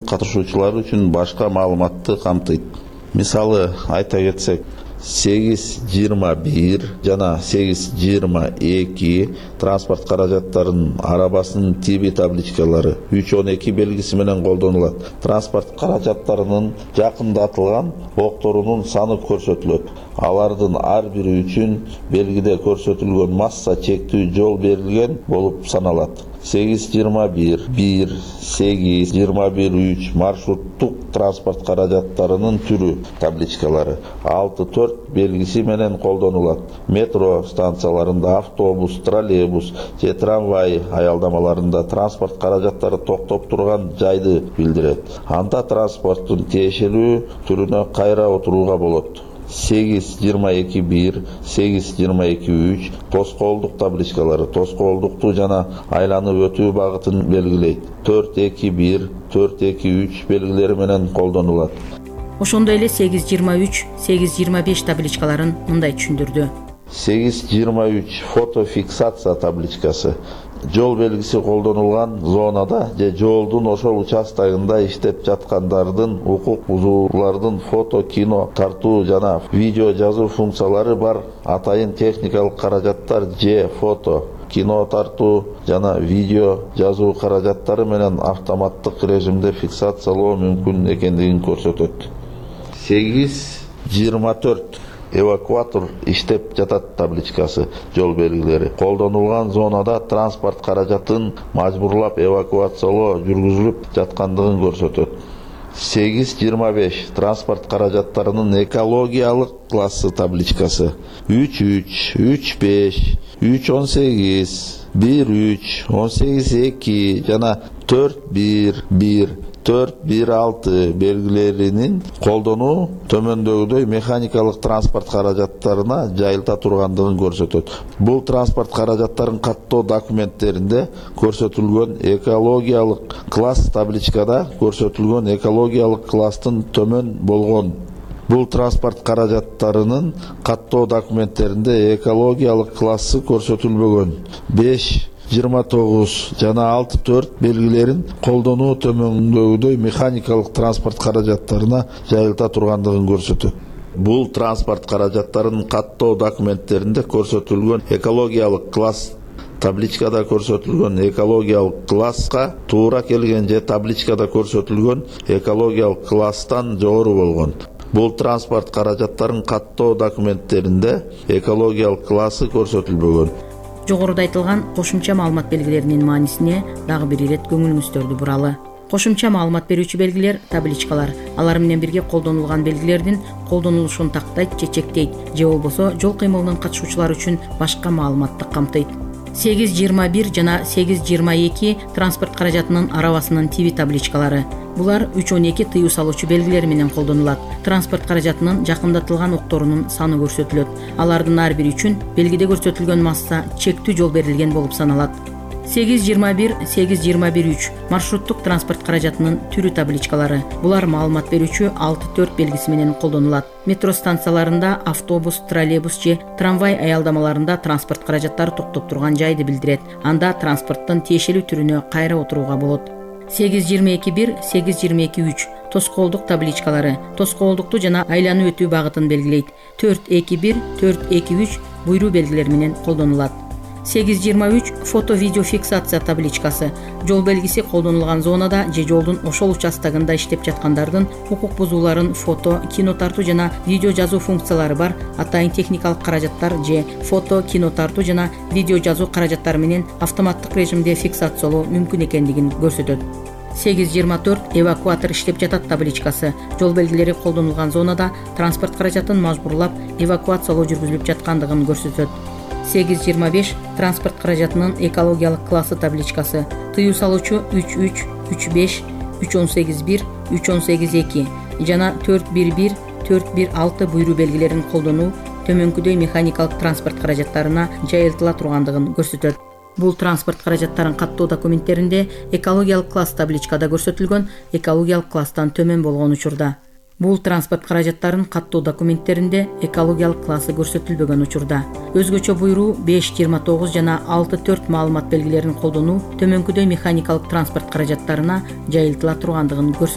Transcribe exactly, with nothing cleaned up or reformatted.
катышуучулар үчүн башка маалыматты камтыйт. Мисалы айта кетсек, сегиз жыйырма бир жана сегиз жыйырма эки транспорт каражаттарынын арабасынын тиби табличкалары үч он эки белгиси менен колдонулат. Транспорт каражаттарынын жакындатылган окторунун саны көрсөтүлөт. Алардын ар бири үчүн белгиде көрсөтүлгөн масса чектүү жол берилген болуп саналат. сегиз жыйырма бир бир сегиз жыйырма бир үч маршруттук транспорт каражаттарынын түрү табличкалары алты төрт белгиси менен колдонулат. Метро станцияларында, автобус, троллейбус же трамвай аялдамаларында транспорт каражаттары токтоп турган жайды билдирет. Анда транспорттун тиешелүү түрүнө кайра отурууга болот. сегиз жыйырма эки бир сегиз жыйырма эки үч тоскоолдук табличкалары тоскоолдукту жана айланып өтүү багытын белгилейт. төрт эки бир төрт эки үч белгилери менен колдонулат. Ошондой эле сегиз жыйырма үч сегиз жыйырма беш табличкаларын мындай түшүндүрдү. сегиз жыйырма үч фотофиксация табличкасы жол белгиси колдонулган зонада же жолдун ошол участогунда иштеп жаткандардын укук бузуулардын фото, кино тартуу жана видео жазуу функциялары бар атайын техникалык каражаттар же фото, кино тартуу жана видео жазуу каражаттары менен автоматтык режимде фиксациялоо мүмкүн экендигин көрсөтөт. сегиз жыйырма төрт эвакуатор иштеп жатат табличкасы жол белгилери колдонулган зонада транспорт каражатын мажбурлап эвакуациялоо жүргүзүлүп жаткандыгын көрсөтөт. сегиз жыйырма беш транспорт каражаттарынын экологиялык классы табличкасы үч үч үч беш үч он сегиз бир үч он сегиз эки жана төрт бир бир төрт бир алты белгилеринин колдонуу төмөндөгүдөй механикалык транспорт каражаттарына жайылта тургандыгын көрсөтөт. Бул транспорт каражаттарын каттоо документтеринде көрсөтүлгөн экологиялык класс табличкада көрсөтүлгөн экологиялык класстын төмөн болгон. Бул транспорт каражаттарынын каттоо документтеринде экологиялык классы көрсөтүлбөгөн. беш жыйырма тогуз жана алты төрт белгилерин колдонуу төмөндөгүдөй механикалык транспорт каражаттарына жайылта тургандыгын көрсөтөт. Бул транспорт каражаттарынын каттоо документтеринде көрсөтүлгөн экологиялык класс табличкада көрсөтүлгөн экологиялык класска туура келген же табличкада көрсөтүлгөн экологиялык класстан жогору болгон. Бул транспорт каражаттарынын каттоо документтеринде экологиялык классы көрсөтүлбөгөн. Жогоруда айтылган кошумча маалымат белгилеринин маанисине дагы бир ирет көңүлүңүздөрдү буралы. Кошумча маалымат берүүчү белгилер табличкалар. Алар менен бирге колдонулган белгилердин колдонулушун тактайт же чектейт, же болбосо жол кыймылынын катышуучулары үчүн башка маалыматты камтыйт. сегиз жыйырма бир жана сегиз жыйырма эки транспорт каражатынын арабасынын тиби табличкалары. Булар үч он эки тыюу салуучу белгилери менен колдонулат. Транспорт каражатынын жакындатылган окторунун саны көрсөтүлөт. Алардын ар бири үчүн белгиде көрсөтүлгөн масса чектүү жол берилген болуп саналат. сегиз жыйырма бир сегиз жыйырма бир үч маршруттук транспорт каражатынын түрү табличкалары. Булар маалымат берүүчү алты төрт белгиси менен колдонулат. Метро станцияларында, автобус, троллейбус же трамвай аялдамаларында транспорт каражаттары токтоп турган жайды билдирет. Анда транспорттун тиешелүү түрүнө кайра отурууга болот. сегиз жыйырма эки бир сегиз жыйырма эки үч тоскоолдук табличкалары тоскоолдукту жана айланып өтүү багытын белгилейт. төрт эки бир төрт эки үч буйруу белгилери менен колдонулат. сегиз жыйырма үч фото-видео фиксация табличкасы жол белгиси колдонулган зонада же жолдун ошол участогунда иштеп жаткандардын укук бузууларын фото, кино тартуу жана видео жазуу функциялары бар атайын техникалык каражаттар же фото, кино тартуу жана видео жазуу каражаттары менен автоматтык режимде фиксациялоо мүмкүн экендигин көрсөтөт. сегиз жыйырма төрт эвакуатор иштеп жатат табличкасы жол белгилери колдонулган зонада транспорт каражатын мажбурлап эвакуациялоо жүргүзүлүп жаткандыгын көрсөтөт. сегиз жыйырма беш транспорт каражатынын экологиялык классы табличкасы тыюу салуучу үч үч үч беш үч он сегиз бир үч он сегиз эки жана төрт бир бир төрт бир алты буйруу белгилерин колдонуу төмөнкүдөй механикалык транспорт каражаттарына жайылтыла тургандыгын көрсөтөт. Бул транспорт каражаттарын каттоо документтеринде экологиялык класс табличкада көрсөтүлгөн экологиялык класстан төмөн болгон учурда. Бул транспорт каражаттарын каттоо документтеринде экологиялык классы көрсөтүлбөгөн учурда. Өзгөчө буйруу беш жыйырма тогуз жана алты төрт маалымат белгилерин колдонуу төмөнкүдөй механикалык транспорт каражаттарына жайылтыла тургандыгын көрсөтөт.